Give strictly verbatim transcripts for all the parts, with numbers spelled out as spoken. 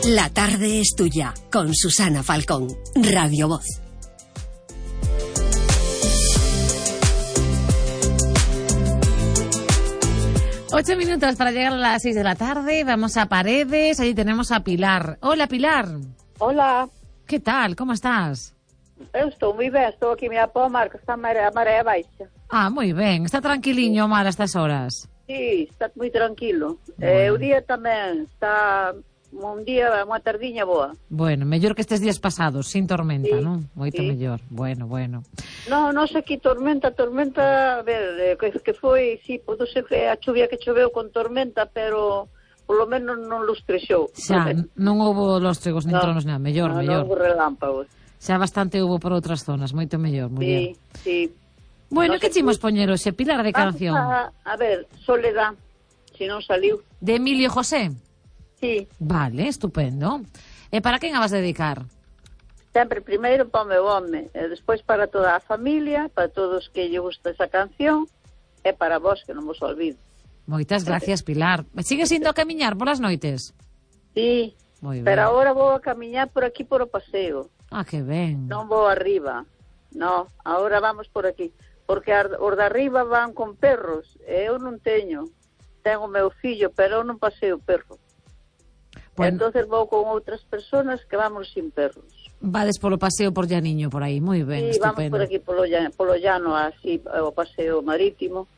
La tarde es tuya, con Susana Falcón, Radio Voz. Ocho minutos para llegar a las seis de la tarde. Vamos a Paredes. Allí tenemos a Pilar. Hola, Pilar. Hola. ¿Qué tal? ¿Cómo estás? Eu estou moi ben. Estou aquí a Pomar, que está a maré, a maré baixa. Ah, moi ben. Está tranquiliño o mar a estas horas? Sí, está moi tranquilo. Bueno. Eh, o día tamén está un día, unha tardiña boa. Bueno, mellor que estes días pasados, sin tormenta, Sí, non? Moito sí. mellor. Bueno, bueno. No, non sei aquí tormenta, tormenta, a ver, que, que foi, sí, podo ser que a chuvia que choveu con tormenta, pero polo menos non lustrexou. Xa, non houbo lóstregos nin No, tronos, nada. Mellor, no, mellor. Non houbo relámpagos. Xa bastante houbo por outras zonas, moito mellor, muller. Sí, sí. Bueno, No que sé chimos tú. poñer hoxe, Pilar, de Vamos canción? A, a ver, Soledad, se non saliu. De Emilio José? Sí, Vale, estupendo. E para quen a vas dedicar? sempre primeiro para o meu home, e despois para toda a familia, para todos que lle gusta esa canción, e para vos, que non vos olvido. Moitas gracias, Pilar. Sigues indo a camiñar polas noites? Sí, Moi ben. pero agora vou a camiñar por aquí por o paseo, Ah, que ben. non vou arriba, no, agora vamos por aquí, porque ar- os de arriba van con perros, e eu non teño, tengo o meu fillo, pero eu non paseo perro. Bueno. Entonces vou con outras personas que vamos sin perros. Vades polo paseo por Llaniño, por aí, moi ben, Sí, vamos estupendo. por aquí polo llano, polo llano así, o paseo marítimo.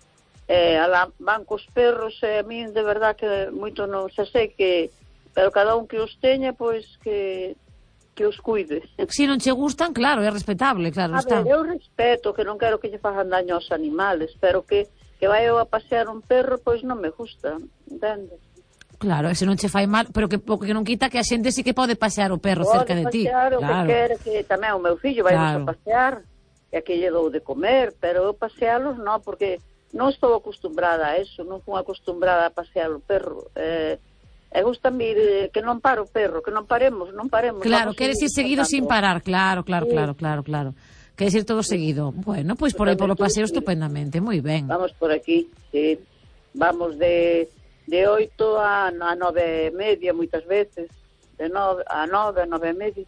Eh, alá van cos perros, e a min de verdad que moito non se sei que, pero cada un que os teña, pois que que os cuide. Si non che gustan, claro, é respetable, claro, A está. ver, eu respeto, que non quero que lle fagan daño aos animales, pero que que vai eu a pasear un perro, pois non me gusta, entendes? Claro, e se non che fai mal, pero que o que non quita que a xente sí que pode pasear o perro Pode cerca de ti. pasear o Claro. que quere, que tamén o meu fillo vai Claro. a pasear, e que lle dou de comer, pero eu pasealos non, porque non estou acostumbrada a eso, non fui acostumbrada a pasear o perro. Eh, e gusta mir eh, que non pare o perro, que non paremos, non paremos. Claro, vamos queres ir seguir seguido sin pasando. parar, claro, claro, Sí. claro, claro, claro. Queres ir todo seguido. Bueno, pois por aí polo paseo estupendamente, moi ben. Vamos por aquí, sí. Vamos de de oito a, a nove e media, moitas veces, de nove a nove, a nove e media.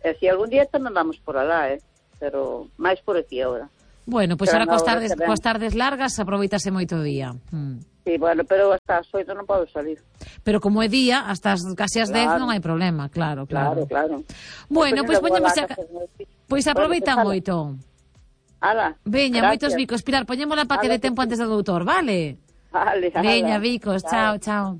E si algún día tamén vamos por alá, eh? Pero máis por aquí agora. Bueno, pois Pero ahora coas no, tardes, que ben. coas tardes largas aproveitase moito o día. Mm. Sí, bueno, pero hasta as oito non podo salir. Pero como é día, hasta as casi as dez Claro. non hai problema, claro, Claro, claro. claro. Bueno, pois Despois poñemos ainda a... vou lá casa dos meus fillos. Pois aproveita Bueno, moito. Ala, Veña, gracias. moitos bicos. Pilar, poñémola para que Ala, dé tempo antes do doutor, vale? Vale, ala. Veña, bicos, chao, chao.